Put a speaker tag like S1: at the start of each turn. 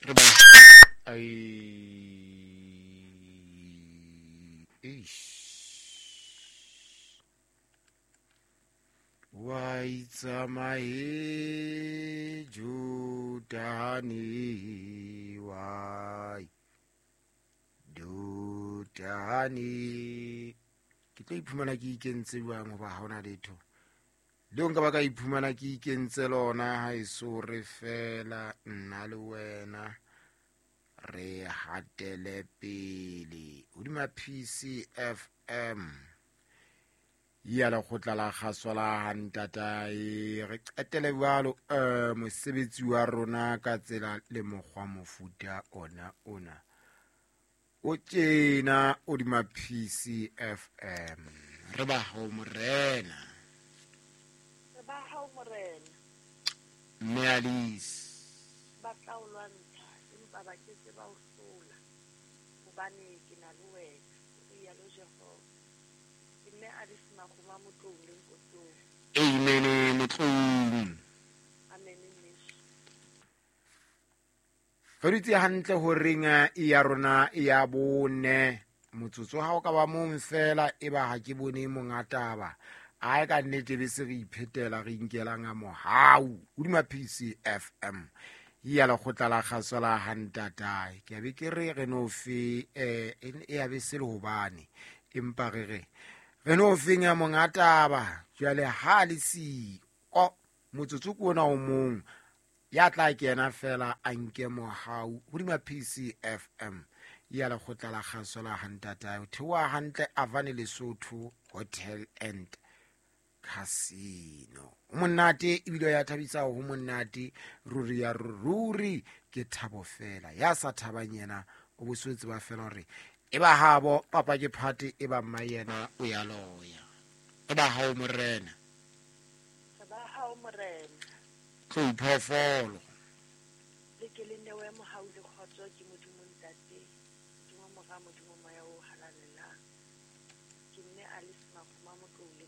S1: Re ba ai eish. Wa itsamaye Jordane wa Jordane. Ke tlo iphumana ke ikentse jwang hoba ha hona letho leo nka ba ka iphumana ke ikentse lona. Ha eso re fela nna le wena re hatele pele hodima PCFM ya lekgotla la kgaso la hantatae. Re qetele jwalo mosebetsi wa rona ka tsela le mokgwa mofuta ona ona o tjena hodima PCFM. Re ba hao morena,
S2: Re ba hao morena.
S1: Mme Alice.
S2: Ba tla o lwantsha, empa ba ke ke ba o hlola, hobane ke na le wena, o rialo Jehova. Ke mme Alice Makgoma Motlou le Nkosong.
S1: Amen Motlou.
S2: Amen mmeso.
S1: Re dutse hantle horeng ya rona ya bone. Motsotso ha o ka ba mong fela e ba ha ke bone monga taba. Ae ka nnete be se re iphetela re inkelang a mohau hodima PCFM ya lekgotla la kgaso la hantatae. Ke a be ke re re no fe e ya be se le hobane empa re re re no feng ya monga taba. Jwale ha le siko motsotso ke ona o mong ya tla kena fela a nke mohau hodima PCFM ya lekgotla la kgaso la hantatae. Ho theoha hantle Avane Lesotho Hotel and Casino. Ho monate ebile ya thabisa, ho monate ruri ya ruri, ke thabo fela. Ya sa thabang yena o bo se tseba fela hore e ba habo papa ke phate, e ba mma yena o ya loya. E ba hao morena.
S2: Re ba hao morena.
S1: Tlou phoofolo.
S2: Le ke le newe mohau le kgotso ke Modimo Ntate, Modimo Mora, Modimo Moya o Halalelang. Ke mme Alice Makgoma Motlou le